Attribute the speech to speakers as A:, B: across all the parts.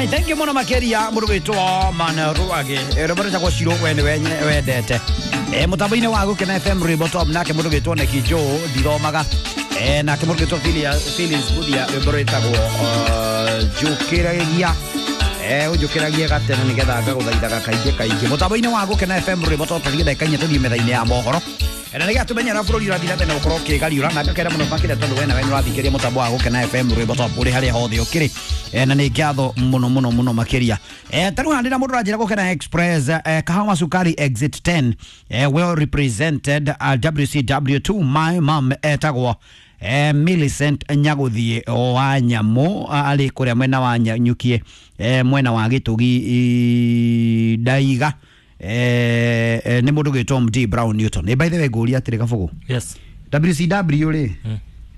A: Alright, thank you muno makeria mundu gwitwo Manruage. Rwimbo rwĩtagwo Ciro we nĩ wendete. Mũtambo-inĩ wa Gũkena FM rwĩmbo top nake mundu gwitwo Neki Joe ndithomaga. Nake mundu gwitwo Phyllis Buthia rwĩmbo rwĩtagwo Njũkĩragia. Ũnjũkĩragie gatene nĩgetha ngagũthaithaga kaingĩ kaingĩ. Mũtambo-inĩ wa Gũkena FM rwĩmbo top tũthiĩ ndagĩka inya tũthiĩ metha-inĩ ya mohoro. Na nĩgetha tũmenye ũrĩa bũrũri ũrathiĩ na mbere na gũkorwo ũkĩgariũra na ngakena mũno makĩria tondũ we nawe nĩũrathikĩrĩria mũtambo wa Gũkena FM rwĩmbo top ũrĩ harĩa hothe ũkĩrĩ. Na nĩ ngatho mũno mũno mũno makĩria. Ta rĩu haha ndĩna mũndũ ũranjĩra Gũkena Express, Kahawa Sukari Exit 10, well represented, WCW2 my mom etagwo Millicent Nyagũthiĩ wa Nyamũ, arĩ kũrĩa mwena wa Nyukie, mwena wa Gĩtũgi Ndaiga. Nĩ mũndũ gwĩtwo MD Brown Newton. By the way ngũria atĩrĩ Kabũgũ.
B: Yes.
A: WCW rĩ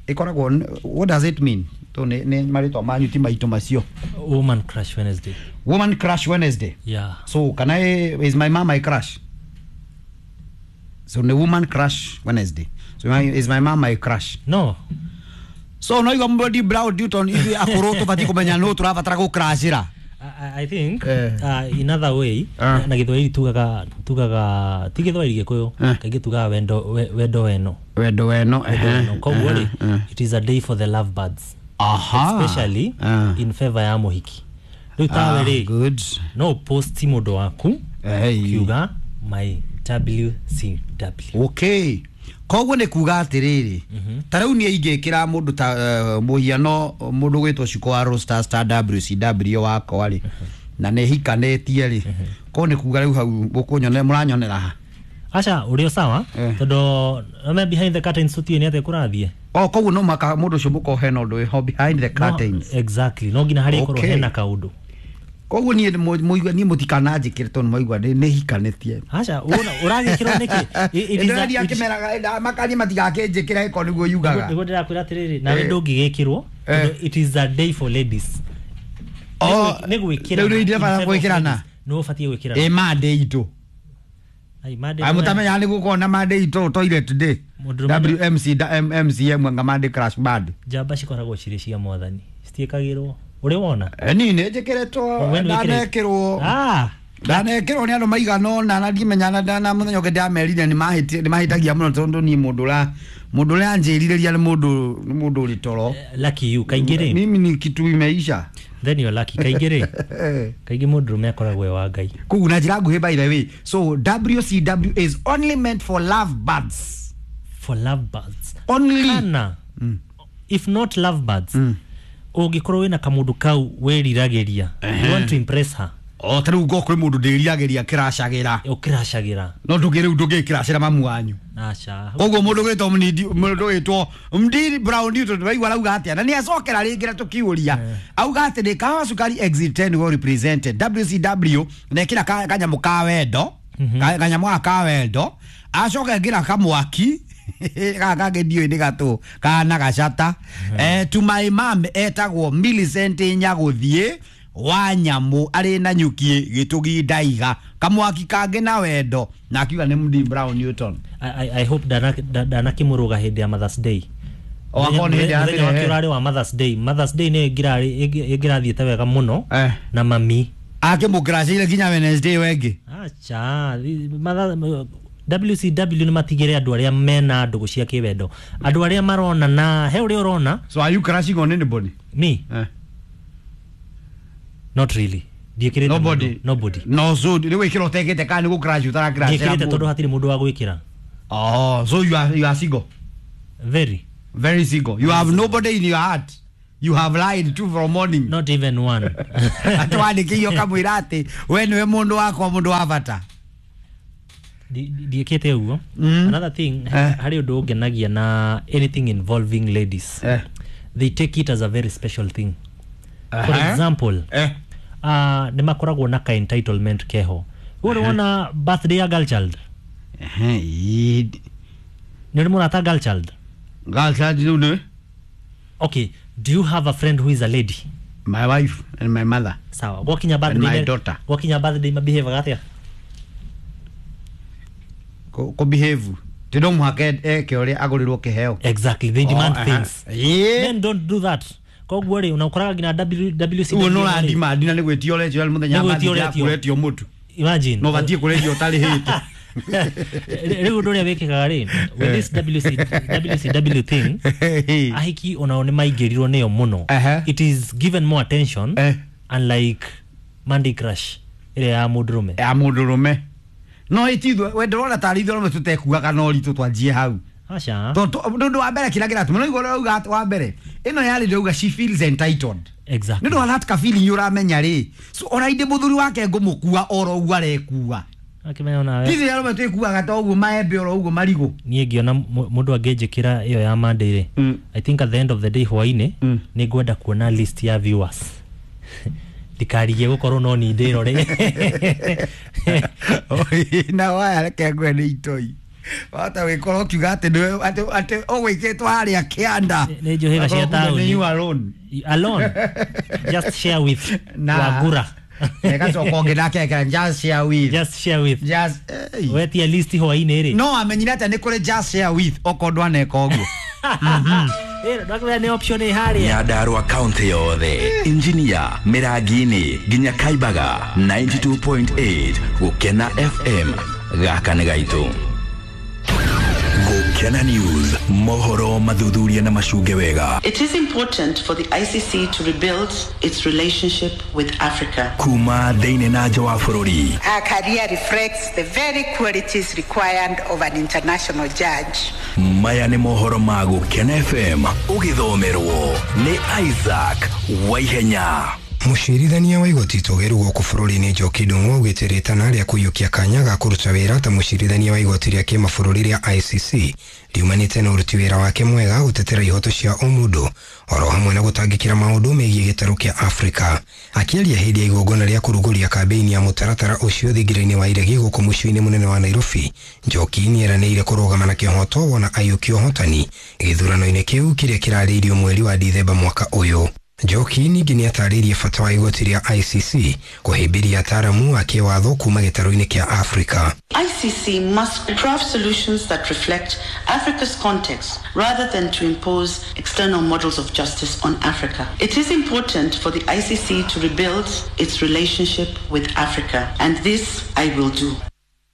A: ĩkoragwo, what does it mean? To nĩ marĩtwa manyu ti maitũ macio.
B: Woman Crush Wednesday.
A: Woman Crush Wednesday.
B: Yeah.
A: So can I, is my mom my crush? So the Woman Crush Wednesday. So is my mom my crush?
B: No.
A: So no igwa MD Brown Newton ithuĩ akũrũ tũbatiĩ kũmenya nũ tũrabatara gũcrashĩra.
B: I think in other way na Gĩthwaĩri tugaga ti Gĩthwaĩri Gĩkũyũ kaingĩ tugaga wendo wendo weno.
A: Wendo weno.
B: Koguo rĩ, it is a day for the love birds.
A: Aha.
B: Especially in favor ya mũhiki. Rĩu tawe rĩ,
A: good.
B: No post mũndũ waku kiuga my WCW.
A: Okay. Koguo nĩ kuga atĩrĩrĩ, ta rĩu niĩ ingĩkĩra mũndũ ta mũhiano mũndũ gwĩtwo Shiko wa Roster Star WCW wakwa rĩ, na nĩ hikanĩtie rĩ, koguo nĩ kuga rĩu hau mũkũnyonera mũranyonera ha?
B: Aca ũrĩ o sawa tondũ ame behind the curtains tũtiũĩ nĩ atĩa kũrathiĩ.
A: Oh, koguo no maka mũndũ ũcio mũkorwo hena ũndũ wĩho behind the curtains.
B: No, exactly. No nginya harĩa ĩkorwo hena kaũndũ.
A: Koguo niĩ mũigua niĩ mũtikananjĩkĩre tondũ maigua nĩ hikanĩtie.
B: Aca ũragĩkĩrwo nĩkĩ?
A: Ndĩrathiĩ akĩmeraga makanie matigakĩnjĩkĩre ĩkorwo nĩguo yugaga.
B: Nĩguo ndĩrakwĩra atĩrĩrĩ, nawe ndũngĩgĩkĩrwo tondũ it is a day for ladies. Nĩ gwĩkĩrana.
A: Rĩu nĩ ndĩrabatara gwĩkĩrana.
B: Nĩ ũbatiĩ gwĩkĩrana.
A: Ĩ Monday itũ.
B: Ai Monday.
A: Mũtamenyaga nĩ gũkorwo na Monday itũ toilet day. WMC MCM nga Monday crash band.
B: Njamba cikoragwo cirĩ cia mwathani. Citiĩkagĩrwo. Ũrĩ wona?
A: Niĩ nĩ njĩkĩrĩtwo ndanekĩrwo. Ndanekĩrwo nĩ andũ maigana ũna na ndimenya na mũthenya ũngĩ ndamerire nĩ mahĩtagia mũno tondũ niĩ mũndũ ũrĩa anjĩrirĩria nĩ mũndũ ũrĩ toro.
B: Lucky you kaingĩ rĩ.
A: Mimi ni kitu imeisha.
B: Then you're lucky kaingĩ rĩ. Kaingĩ mũndũrũme akoragwo e wa Ngai.
A: Koguo na njĩra nguhĩ by the way. So WCW is only meant for love birds.
B: For love birds.
A: Only.
B: Kana. If not love birds. Ũngĩkorwo wĩna kamũndũ kau wĩriragĩria, you want to impress her.
A: O ta rĩu ngorwo kwĩ mũndũ ndĩriragĩria kĩracagĩra.
B: Ũkĩracagĩra.
A: No ndũngĩ rĩu ndũngĩkĩracĩra mamu wanyu.
B: Aca.
A: Koguo mũndũ gwĩtwo mũndũ gwĩtwo MD Brown Newton waigua arauga atĩa na nĩ acokera rĩngĩ na tũkiũria. Auga atĩ nĩ Kahawa Sukari Exit 10 well represented WCW na ĩkĩra kanyamũ ka wendo, kanyamũ gaka ka wendo, acoka ĩkĩra kamwaki gaka kangĩ ndiũĩ nĩ gatũ kana gacata. To my mom etagwo Millicent Nyagũthiĩ wa Nyamũ arĩ na Nyukie Gĩtũgi Ndaiga kamwaki kangĩ na wendo na akiuga nĩ MD Brown Newton.
B: I hope ndanakĩmũrũga hĩndĩ ya Mother's Day.
A: O akorwo nĩ hĩndĩ ya
B: mũthenya wake ũrarĩ wa Mother's Day. Mother's Day nĩ ĩngĩrathiĩte wega mũno na mami
A: akĩmũkĩracĩire nginya Wednesday wengĩ.
B: Acha WCW nĩ matigĩre andũ arĩa mena ndũgũ cia kĩwendo, andũ arĩa marona na he ũrĩa ũrona.
A: So are you crushing on anybody?
B: Me? Not really. Ndiĩkĩrĩte
A: nobody.
B: Nobody.
A: No, so rĩu wĩkĩra ũtekĩte kana nĩ gũcrush ũtaracrush?
B: Ndiĩkĩrĩte tondũ hatirĩ mũndũ wa gwĩkĩra.
A: Oh, so you are single?
B: Very.
A: Very single. You have nobody in your heart. You have lied to from morning.
B: Not even one.
A: Atwandĩkĩirio kamwĩra atĩ we nĩwe mũndũ wakwa mũndũ wa bata.
B: Ndiĩkĩte ũguo. Another thing, harĩ ũndũ ũngenagia na anything involving ladies. They take it as a very special thing. For example, nĩ makoragwo na ka entitlement keho. Wewe ũrĩ birthday ya girl child? Nĩ ũrĩ mũrata girl child?
A: Girl child rĩu nĩ?
B: Okay, do you have a friend who is a lady?
A: My wife and my mother.
B: Sawa. Gwakinya birthday
A: and my daughter.
B: Gwakinya birthday mabehave atĩa?
A: Ko behave. Ti no mũhaka eke ũrĩa agũrĩrwo kĩheo.
B: Exactly, they demand things. Men don't do that. Koguo rĩ unakoraga nginya WCW
A: Uguo no ũrandimandi na nĩ gwĩtio ũretio mũthenya
B: Nĩ
A: wa
B: gwĩtio
A: mathija
B: ũretio.
A: kũretio mũtu.
B: Imagine.
A: No batie kũretio ũtarĩhĩte.
B: Rĩu ũndũ ũrĩa wĩkĩkaga rĩ with this WCW thing, ahiki onao nĩ maingĩrirwo nĩyo mũno. It is given more attention, unlike Monday Crush ĩrĩa ya mũndũrũme.
A: Ya mũndũrũme no itithwe we ndĩrona tarĩ ithuĩ arũme tũtekuaga na ũritũ twanjie hau.
B: Aca.
A: Tondũ ũndũ wa mbere kĩrĩa kĩratũma no igũrũ rauga atĩ wa mbere ĩno yarĩ ndĩrauga she feels entitled.
B: Exactly.
A: Nĩ ũndũ wa that ka feeling ũramenya rĩ, so ona indĩ mũthuri wake ngũmũkua oro ũguo arekua.
B: Akĩmenya onawe.
A: Ithuĩ arũme twĩkuaga ta ũguo maembe oro ũguo marigũ.
B: Niĩ ngĩona mũndũ angĩnjĩkĩra ĩyo ya Monday rĩ, I think at the end of the day hwainĩ nĩ ngwenda kuona list ya viewers, ndikarigie gũkorwo no ni ndĩrore.
A: Na waya reke ngwe nĩ itoi wahota gwĩkorwo ũkiuga atĩ nĩwe atĩ ũgwĩkĩtwo harĩa kĩanda.
B: Nĩ njũhĩga cia
A: Akorwo kumbe nĩ
B: taũni.
A: you alone.
B: Alone, just share with
A: Na-
B: Wagura.
A: Ĩgacoka ũngĩ nake ekĩra just share with.
B: Just share with.
A: Just
B: wetia list hwainĩ rĩ.
A: No amenyire atĩa nĩ kũrĩ just share with okorwo ndwaneka ũguo?
B: Ndwakĩmenya nĩ option ĩ harĩa.
C: Nyandarua kaunti yothe, Injinia, Mĩrangi-inĩ nginya Kaibaga, 92.8 Gũkena FM, gaka nĩ gaitũ. Gũkena News, mohoro mathuthuria na macunge wega.
D: It is important for the ICC to rebuild its relationship with Africa.
C: Kuma thĩinĩ na nja wa bũrũri.
E: Her career reflects the very qualities required of an international judge.
C: Maya nĩ mohoro ma Gũkena FM, ũgĩthomerwo nĩ Isaac Waihenya.
F: Mũcirithania wa igoti itũgĩru gũkũ bũrũri-inĩ Njoki Ndung'u augĩte rĩtana rĩa kũiyũkia kanya ga kũruta wĩra ta mũcirithania wa igoti rĩa kĩmabũrũri rĩa ICC riumanĩte na ũruti wĩra wake mwega gũtetera ihoto cia ũmũndũ oro hamwe na gũtangĩkĩra maũndũ megiĩ gĩtarũ kĩa Afrika. Akĩaria hĩndĩ ya igongona rĩa kũrugũria kambĩini ya mũtaratara ũcio thingira-inĩ wa iregi gũkũ mũciĩ-inĩ mũnene wa Nairobi, Njoki nĩeranĩire kũrũgama na kĩhoto wona aiyũkia ũhotani gĩthurano-inĩ kĩu kĩrĩa kĩrarĩirio mweri wa Dithemba mwaka ũyũ. Njoki ningĩ nĩatarĩirie bata wa igoti rĩa ICC kũhĩmbĩria ataaramu a kĩwatho kuma gĩtarũ-inĩ kĩa Afrika.
D: ICC must craft solutions that reflect Africa's context rather than to impose external models of justice on Africa. It is important for the ICC to rebuild its relationship with Africa, and this I will do.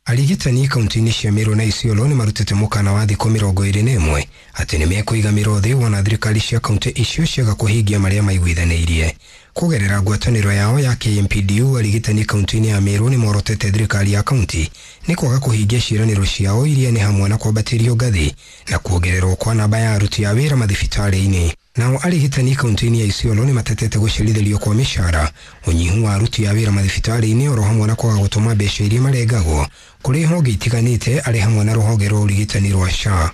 F: Arigitani kaunti-inĩ cia Meru na Isiolo nĩ marutĩte mũkana wa thikũ 21 atĩ nĩ mekũiga mĩro thĩ wona thirikari cia kaunti icio ciaga kũhingia marĩa maiguithanĩirie. Kũgerera ngwatanĩro yao ya KMPDU, arigitani kaunti-inĩ ya Meru nĩ morotete thirikari ya kaunti nĩ kwaga kũhingia ciĩranĩro ciao iria nĩ hamwe na kwambatĩrio ngathĩ na kuongererwo kwa namba ya aruti a wĩra mathibitarĩ-inĩ. Nao arigitani kaunti-inĩ ya Isiolo nĩ matetete gũcerithĩrio kwa mĩcara, ũnyihu wa aruti a wĩra mathibitarĩ-inĩ oro hamwe na kwaga gũtũma mbeca iria marengagwo kũrĩ honge itiganĩte arĩ hamwe na rũhonge rwa ũrigitani rwa SHA.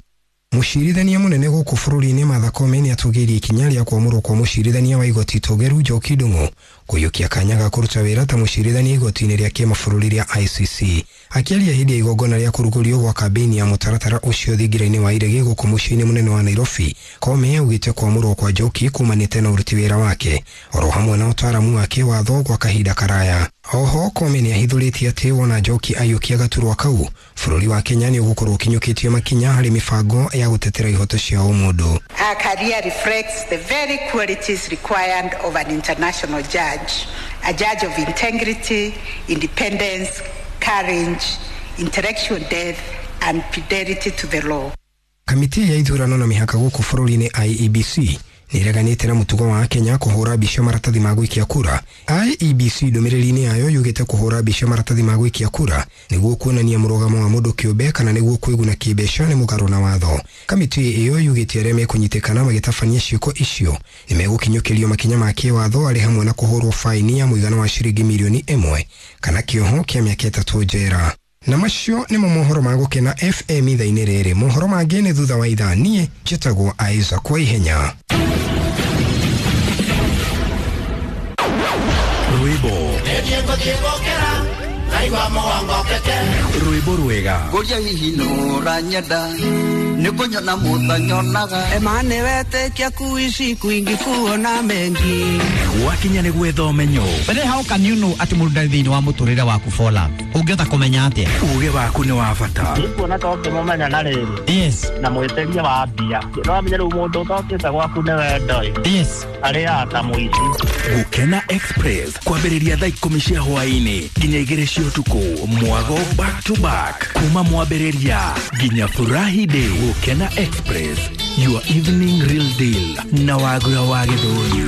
F: Mũcirithania mũnene gũkũ bũrũri-inĩ Martha Koome nĩatũgĩirie ikinya rĩa kwamũrwo kwa mũcirithania wa igoti itũgĩru Njoki Ndung'u kũiyũkia kanya ga kũruta wĩra ta mũcirithania igoti-inĩ rĩa kĩmabũrũri rĩa ICC. Akĩaria hĩndĩ ya igongona rĩa kũrugũrio gwa kambĩini ya mũtaratara ũcio thingira-inĩ wa iregi gũkũ mũciĩ-inĩ mũnene wa Nairobi, Koome augĩte kwamũrwo kwa Njoki kumanĩte na ũruti wĩra wake oro hamwe na ũtaaramu wa kĩwatho gwa kahinda karaya. Oho Koome nĩahithũrĩtie atĩ wona Njoki aiyũkia gaturwa kau, bũrũri wa Kenya nĩ ũgũkorwo ũkinyũkĩtie makinya harĩ mĩbango ya gũtetera ihoto cia ũmũndũ.
E: Her career reflects the very qualities required of an international judge, a judge of integrity, independence, courage, intellectual depth, and fidelity to the law.
F: Kamĩtĩ ya ithurano na mĩhaka gũkũ bũrũri-inĩ IEBC nĩĩreganĩte na mũtugo wa Kenya kũhũra mbica maratathi ma gũikia kura. IEBC ndũmĩrĩri-inĩ yayo yugĩte kũhũra mbica maratathi ma gũikia kura nĩguo kuonania mũrũgamo wa mũndũ kĩũmbe kana nĩguo kwĩguna kĩmbeca nĩ mũgarũ na watho. Kamĩtĩ ĩyo yugĩte arĩa mekũnyitĩkana magĩtabania ciĩko icio nĩ megũkinyũkĩrio makinya ma kĩwatho arĩ hamwe na kũhũrwo faini ya mũigana wa ciringi mirioni 1 kana kĩoho kĩa mĩaka 3 njera. Na macio nĩmo mohoro ma Gũkena FM ithaa-inĩ rĩrĩ. Mohoro mangĩ nĩ thutha wa ithaa. Niĩ njĩtagwo Isaac Waihenya.
C: Rwĩmbo rwĩmbo rwega.
G: Ngũria hihi nũra nyenda Nĩ kũnyona mũtanyonaga.
H: Emane wetekia kuishi kwingi kuona mengi.
C: Gwakinya nĩ gwetha ũmenyo.
A: But how can you know atĩ mũndũ ndarĩ thĩinĩ wa mũtũrĩre waku for love? Ũngĩhota kũmenya atĩa?
C: Uge waku nĩ wa bata.
I: Nĩkuona ta ũngĩmũmenya na rĩrĩ.
A: Yes.
I: Na mwĩtĩria wa mbia. No amenye rĩu mũndũ ũtokĩte gwaku nĩ wendo ĩ.
A: Yes.
I: Arĩaga ta mũici.
C: Gũkena Express kwambĩrĩria thaa 10 cia hwaĩ-inĩ nginya 2 cia ũtukũ, mwago back to back kuma mwambĩrĩria nginya furahi day. Gũkena Express, your evening real deal na Wagura wa Gĩthũri.